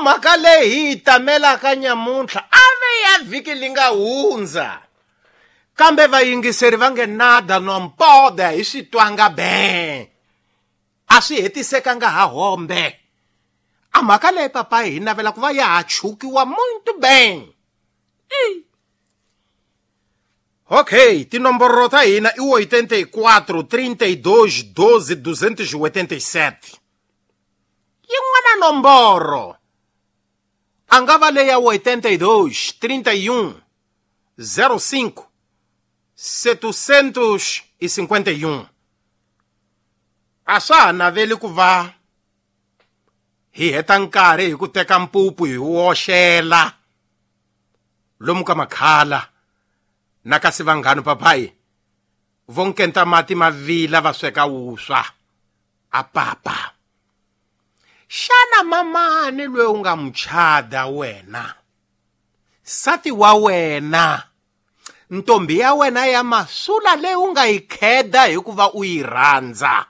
mhaka leyi hi yi tamelaka nyamuntlha a ve ya vhiki li nga hundza kambe vayingiseri va nge nada no mpode hi swi twanga be a swi hetisekanga ha hombe a mhaka leyi papayi hi navela ku va ya ha chukiwa muito bem. Ok, tinomboro ta hina i 84 32 12 287. Yin'wana nomboro a nga va leya 82 31 05 751. A swa ha naveli ku va hi heta nkarhi hi ku teka mpupu hi woxela lomu ka makhala na kasi vanghanu papayi vo nkenta mati ma vila va sweka wuswa a papa. Xana mamani loyi u nga muchada wena, sati wa wena, ntombi ya wena ya masula leyi u nga yi kheda hikuva u yi rhandza,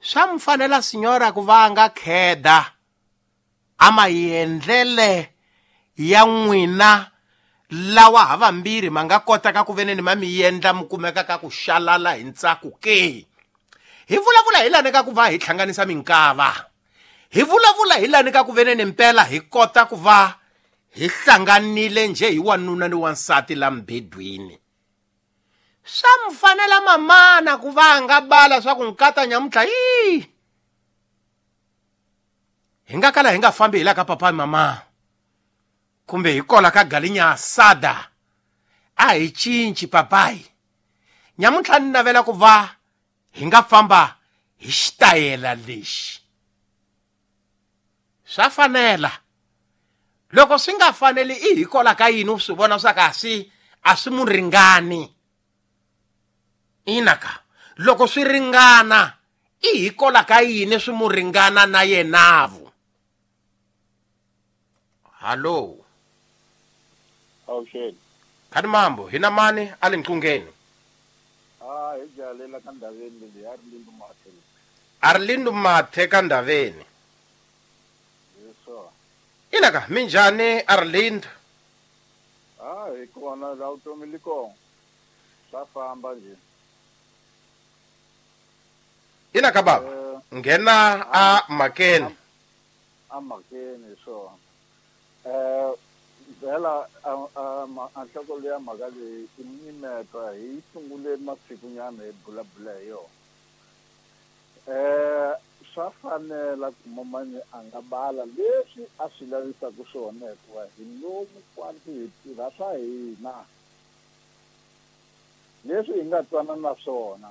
swa mi fanela sinyora ku va a nga kheda a maendlele ya n'wina lawa ha vambirhi ma nga kotaka ku veneni ma mi endla mi kumeka ka ku xalala hi ntsako ke? Hi vulavula hi lani ka ku va hi hlanganisa minkava, hi vulavula hi lani ka ku veneni mpela hi kota ku va hi hlanganile njhe hi wanuna ni wansati la mbedweni. Swa mi fanela mamana ku va a nga bala swa ku nkata nyamuntlha yi hi nga kala hi nga fambi hi la ka papa mama kumbe hi kola ka galinya asada a hi cinci papayi. Nyamuntlha ni navela ku va hi nga famba hi xitayela lexi. Swa fanela. Loko swi nga faneli i hi kola ka yini u swi vona swa ka a swi mu ringani. Ina ka loko swi ringana i hi kola ka yini swi mu ringana na yenavu. Hallo. Awuxeni. Khani mambo hina mani a le nqungeni. Ah, hi jalela ka ndaveni leyi a ri lindu mathe. A ri lindu mathe ka ndaveni. Yes. Ina ka minjhani a ri lindu? Ah, hi kona la vutomi li kona. Swa famba nje. Ina ka baba. Nghena a makeni. A makeni swona. Vhela a nhloko leya mhaka leyi i mimeta hi sungule masikunyana hi bulabula hi yona. Swa fanela ku mamani a nga bala leswi a swi lavisaka swona hikuva hi lomu kwanti hi tirha swa hina leswi hi nga twana na swona.